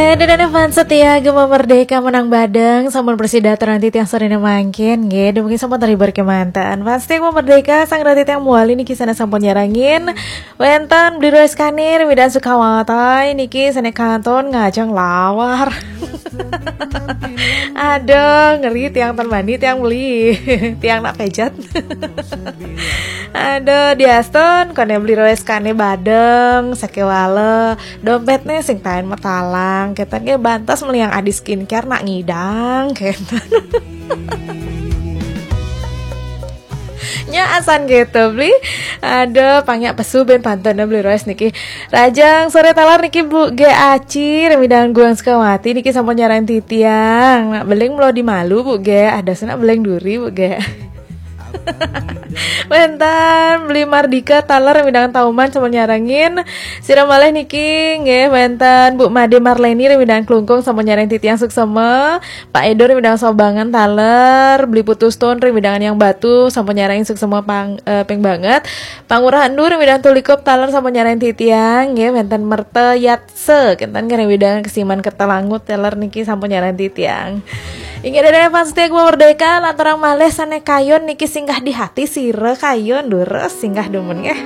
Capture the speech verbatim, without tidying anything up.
Dadah fans setia Gema Merdeka menang badeng, sampun prasida atur titiang sorene mangkin, nggih, dumugi sampun terhibur kemanten. Fans setia Gema Merdeka, sang rati tiang muali niki sané sampun nyarengin. Wénten Bli Roeskane, Remidan Sukawati niki sané kantun ngajeng lawar. Aduh, ngeri tiang ten bani, tiang beli. Tiang nak pejat. Aduh, diastun, koné Bli Roeskane badeng, sakewala. Dompetné sing taén matalang, keten nggih bantes meliang adi skincare nak ngidang, keten. Nya asan gitu, Bli. Aduh, pangyak pesu ben pantun Bli Roes niki. Rahajeng sore taler niki Bu G Aci, Remidan Guang Sukawati niki sampun nyarengin titiang. Nak beling mula di malu, Bu G. Ada senak beling duri, Bu G. Wénten Bli Mardika taler Remidan Tauman sampun nyarengin. Sira malih niki nggih wénten Bu Made Marleni Remidan Klungkung sampun nyarengin titiang suksema. Pak Edo Remidan Sobangan taler, Bli Putu Stone Remidan Yang Batu sampun nyarengin suksema pang, eh, ping banget. Pangurah Endu Remidan Tulikup taler sampun nyarengin titiang nggih, wénten Merta Yatse kenten nggih Remidan Kesiman Kertalangu taler niki sampun nyarengin titiang. Inggih dadah fans setia Gema Merdeka, lanturang malih sané kayun niki singgah di hati sira kayun durus singgah dumun nggih.